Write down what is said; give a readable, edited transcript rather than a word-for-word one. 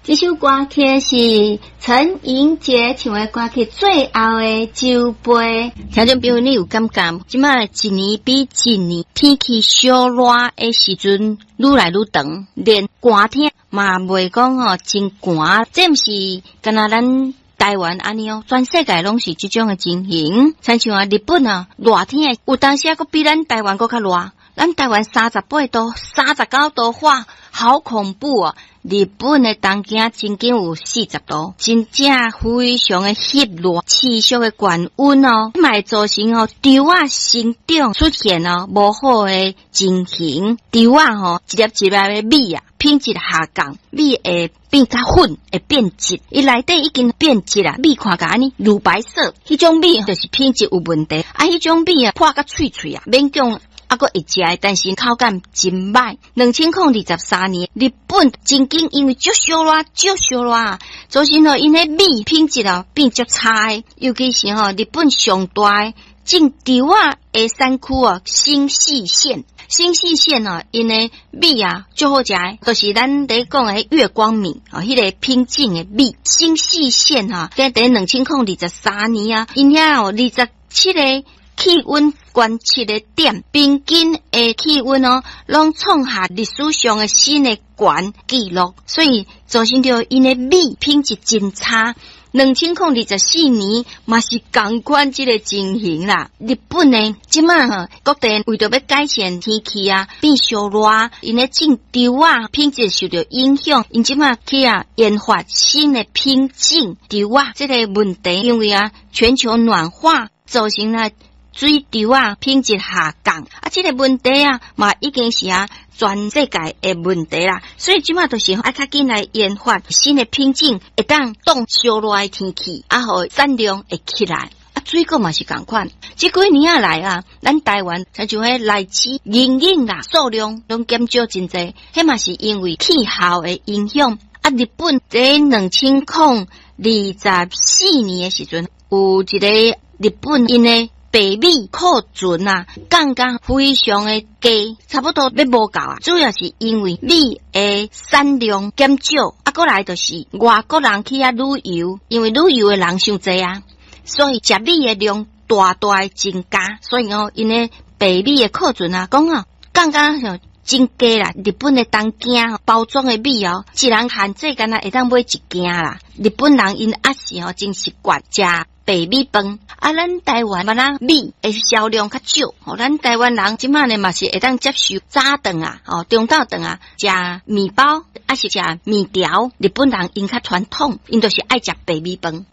這首歌曲是陳盈潔唱的歌曲《最後的酒杯》。聽眾朋友，你有感覺？這擺一年比一年天氣燒熱的時陣愈來愈長，連寒天嘛袂講吼真寒。這毋是干焦咱台灣按呢哦，全世界攏是這種的情形。親像啊，日本啊，熱天有當時啊，閣比咱台灣閣較熱。咱台灣38度、39度，哇，好恐怖啊！日本的東京曾經有40度，真正非常的翕熱，持續的高溫哦，嘛會造成哦稻仔生長出現哦無好的情形。稻仔吼一粒一粒的米啊，品質下降，米會變較粉，會變質。伊內底已經變質啦，米看起來按呢乳白色，彼種米就是品質有問題。啊，彼種米啊破甲脆脆啊，勉強猶閣會食，但是口感真䆀。2023年，日本曾經因為足燒熱，足燒熱，造成吼𪜶的米品質哦變足差的，尤其是吼日本上大的種稻仔的產區哦，新舄縣。新舄縣哦，𪜶的米啊足好食的，就是咱咧講的月光米哦，彼個品種的米。新舄縣吼，佇2023年啊，𪜶遐有27個氣溫觀測的點，平均的氣溫哦，攏創下歷史上的新的懸紀錄，所以造成著𪜶的米品質真差。2024年嘛是仝款這個情形啦。日本呢，這擺吼各地為著欲改善天氣啊，變燒熱，𪜶咧種稻仔品質受著影響，𪜶這擺去啊研發新的品種稻仔，這個問題，因為啊全球暖化造成啊水稻仔品質下降，啊，這個問題啊，嘛已經是啊全世界的問題啦。所以這擺就是愛較緊來研發新的品種，會當擋燒熱的天氣，啊，予產量會起來。啊，水果嘛是仝款，這幾年仔來啊，咱台灣親像彼荔枝、銀耳啦，數量攏減少真濟，彼嘛是因為氣候的影響。啊，日本佇2024年的時陣，有一個日本𪜶的白米庫存啊，降甲非常的低，差不多欲無夠啊。主要是因為米的產量減少，啊，閣來就是外國人去遐旅遊，因為旅遊的人傷濟啊，所以食米的量大大的增加，所以哦，𪜶的白米的庫存啊，講哦，降甲像真低啦。日本的東京包裝的米哦，一人限制干焦會當買一斤啦。日本人𪜶猶是吼真習慣食白米飯，啊，咱台灣嘛，咱米的銷量較少，吼，咱台灣人這擺呢嘛是會當接受早頓啊，吼，中晝頓啊，食麵包，抑是食麵條。日本人𪜶較傳統，𪜶就是愛食白米飯。